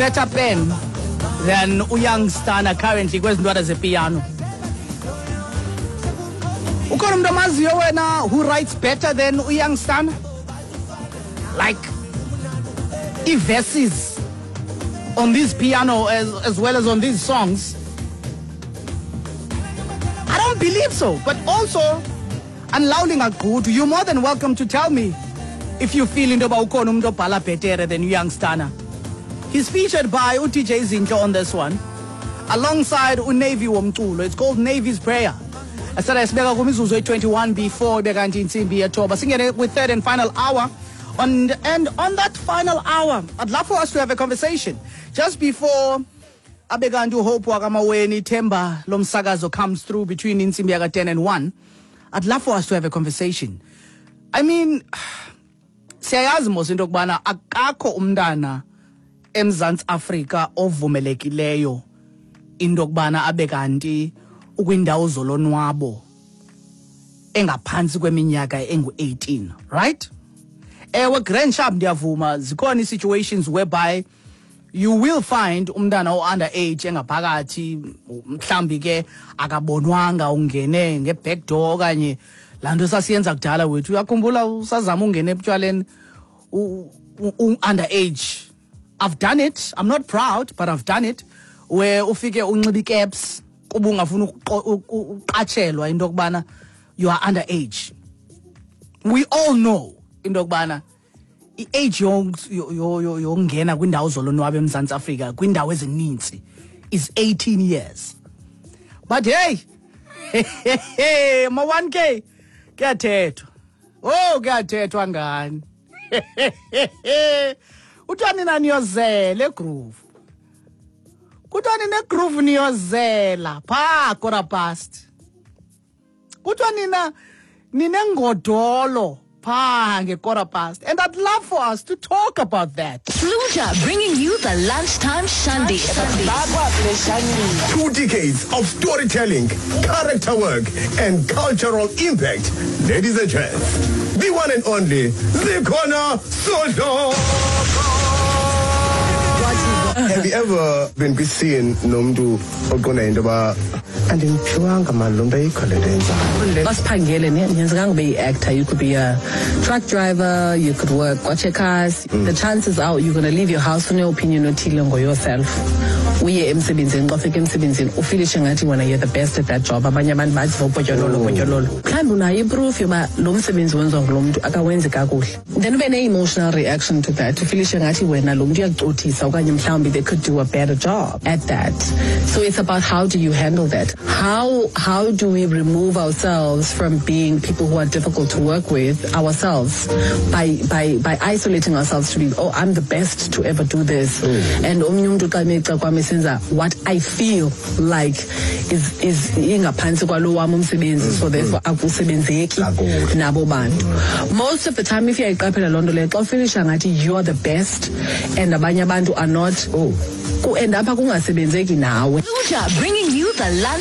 better pen than uYoung Stunna currently kwezi ntwana zepiano? Ukhona umuntu omaziyo wena who writes better than uYoung Stunna? Like i-verses on this piano as well as on these songs? I don't believe so. But also, andilawuli ngagqudu, you're more than welcome to tell me if you feel into yoba ukhona umuntu obhala bhetere than uYoung Stunna. He's featured by uDJ Zinhle on this one, alongside uNavy womculo. It's called Navy's Prayer. Asala sibeka kwimizuzu eyi-21 before ibe kanti intsimbi yethoba. Singene kwi-third and final hour. And on that final hour, I'd love for us to have a conversation. Just before abe kanti uHope wakamaweni Themba lomsakazo comes through between intsimbi yaka-10 and 1, I'd love for us to have a conversation. I mean, siyayazi mos into yokubana akakho umntana eMzantsi Afrika ovumelekileyo into yokubana abe kanti ukwindawo zolonwabo engaphantsi kweminyaka engu-18, right? Ewe, grand sharp, ndiyavuma, zikhona ii-situations whereby you will find umntana o-under age engaphakathi, mhlawumbi ke akabonwanga, ungene nge-back door okanye laa nto sasiyenza kudala wethu. Uyakhumbula usazama ungene ebutywaleni u-under age? I've done it. I'm not proud, but I've done it, where ufike unxibe icaps kuba ungafuni uqatshelwa into yokubana you are under age. We all know into yokubana i-age yokungena kwindawo zolonwabo eMzantsi Afrika kwindawo ezininzi is 18 years. But hey, ma 1K, kuyathethwa. Oh, kuyathethwa ngani. Kuthiwa nina niyozela egroove. Kuthiwa nina egroove niyozela phaa 1:15. Kuthiwa nina ninengodolo phaa nge-1:15. And I'd love for us to talk about that. Fluta bringing you the Lunchtime Shandy. 2 decades of storytelling, character work, and cultural impact. Ladies and gents, the one and only Zikhona Sodlo. Have you ever been kwi-scene nomntu oqonda into yoba andimphiwanga mani lo mntu, ayikho le nto yenzayo? Basiphangele ne nyenzekanga ube yi-actor. You could be a truck driver, you could work kwaCheckers. The chances are you're going to leave your house une-opinion othile ngoyourself, uye emsebenzini. Xa ufika emsebenzini ufilishe ngathi wena you're the best at that job, abanye abantu bathi vopotyololo potyololo. Mhlawumbi unayo iproof yoba lo msebenzi wenziwa ngulo mntu akawenzi kakuhle, then ube ne-emotional reaction to that, ufilishe ngathi wena lo mntu uyakucothisa okanye mhlawumbi they could do a better job at that. So it's about how do you handle that. How do we remove ourselves from being people who are difficult to work with ourselves by isolating ourselves to be, "Oh, I'm the best to ever do this," and omnye umntu xa emeca kwam esenza what I feel like is ingaphantsi kwalo wam umsebenzi, so therefore akusebenzeki Kakuhle. Nabo bantu. Most of the time, if uyayiqaphela loo nto leyo, xa ufilisha ngathi you are the best and abanye abantu are not, ku-end apha kungasebenzeki nawe. Fluta bringing you the lunch